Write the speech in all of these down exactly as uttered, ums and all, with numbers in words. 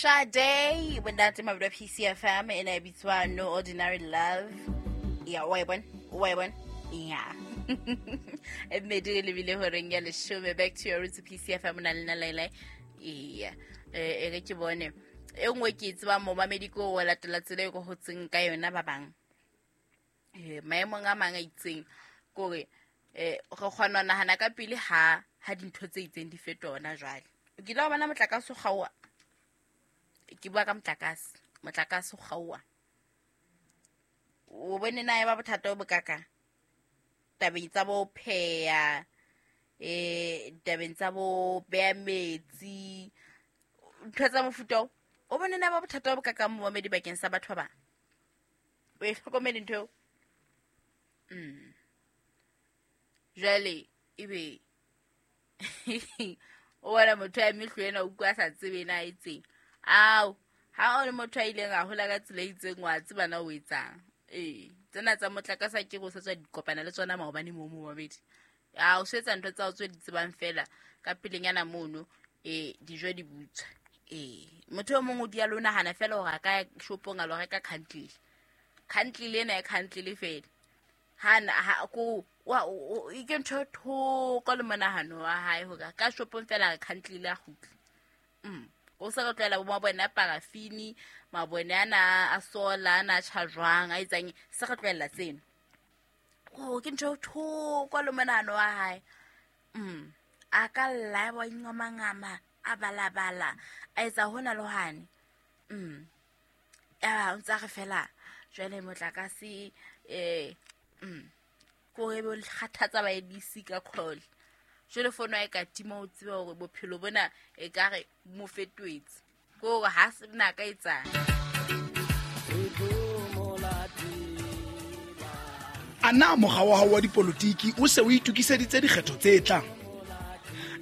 Sade bontate mabelo P C F M e ne bitswa No Ordinary Love. Ya wa e bona, wa e bona. Ya. E mmedi le bile horeng ya leshome. Back to your roots P C F M na le na Laila. Iya. E re ke bone. E nngwe ke e tsebang momamedi ko o latela tsela e ko hotseng ka yona ba bang. Eh maemong a mang a itseng kore eh re kgona ho nahana ka pele ha ha dintho tse itseng di fetoha hona jwale. O kile wa bona motlakase o kgaoha? Ke bua ka motlakase, motlakase o kgaoha. O bone na e ba bothata bo bokakang? Tabeng tsa bo pheha, eh tabeng tsa bo beha metsi, ntho tsa mofuta oo. O bone na ba bothata bo bokakang momamedi bakeng sa batho ba bang? O e hlokomele ntho eo? Mm. Jwale ebe o bona motho a eme hlwena o utlwa a sa tsebe na etseng. Ao, ha o le motho a ileng a hola ka tsela e itseng wa tseba na o etsang. Ee, tsena tsa motlakase ha ke re o sa tswa di kopana le tsona maobane moo momamedi. A o sebetsa ntho tsa hao tse di tsebang fela ka pelenyana mono, eh dijo di butswa. Ee, motho e mong o dia le o nahana fela hore a ka ya shopong a lo reka candle. Candle ena e candle fela. Ha na, ha, ko, wa, o, o, e ke ntho e thoko le monahano wa hae hore ka shopong fela re candle a kgutle. Mm. O sa re tlwaela bo mabone a parafini, mabone ana a solar, ana a tjha jwang, a etsang, se re tlwaela tseno. Oh, ke ntho e thoko le monahano wa hae. Mm. A ka lla, a ingomangama, a balabala, a etsa hona le hwane. Mm. Ya, o ntsa re fela jwale motlakase, eh, mm, ko re bo kgathatsa ba A B C ka call. Jwale fono ya ka tima o tsebe hore bophelo bona e ka re mo fetohetse. Ko hore ha se na ka etsang. A na mokga wa hao wa dipolotiki o se o itokiseditse dikgetho tse tlang?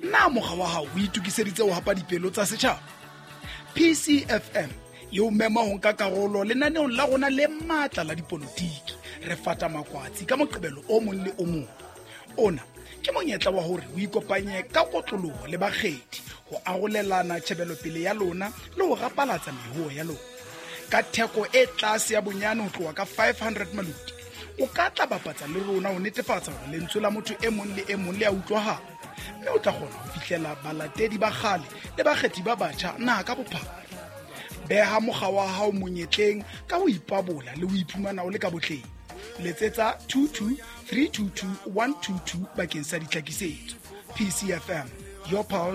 Na mokga wa hao o itokiseditse ho hapa dipelo tsa setjhaba? P C F M e o mema ho nka karolo lenaneong la rona le matla la dipolotiki. Re fata makwatsi ka Moqebelo o mong le o mong. Ona ke monyetla wa hore o ikopanye ka kotloloho le bakgethi ho arolelana tjhebelopele ya lona le ho rapalatsa mehoho ya lona. Ka theko e tlase ya bonyane ho tloha ka five hundred maloti, o ka tla bapatsa le rona ho netefatsa hore lentswe la motho e mong le e mong le a utlwahala, mme o tla kgona ho fihlela balatedi ba kgale le bakgethi ba batjha naha ka bophara. Beha mokga wa hao monyetleng ka ho ipabola le ho iphumana o le ka botleng. Letsetsa two two three two two one two two bakeng sa ditlhakisetso. P C F M, your pulse.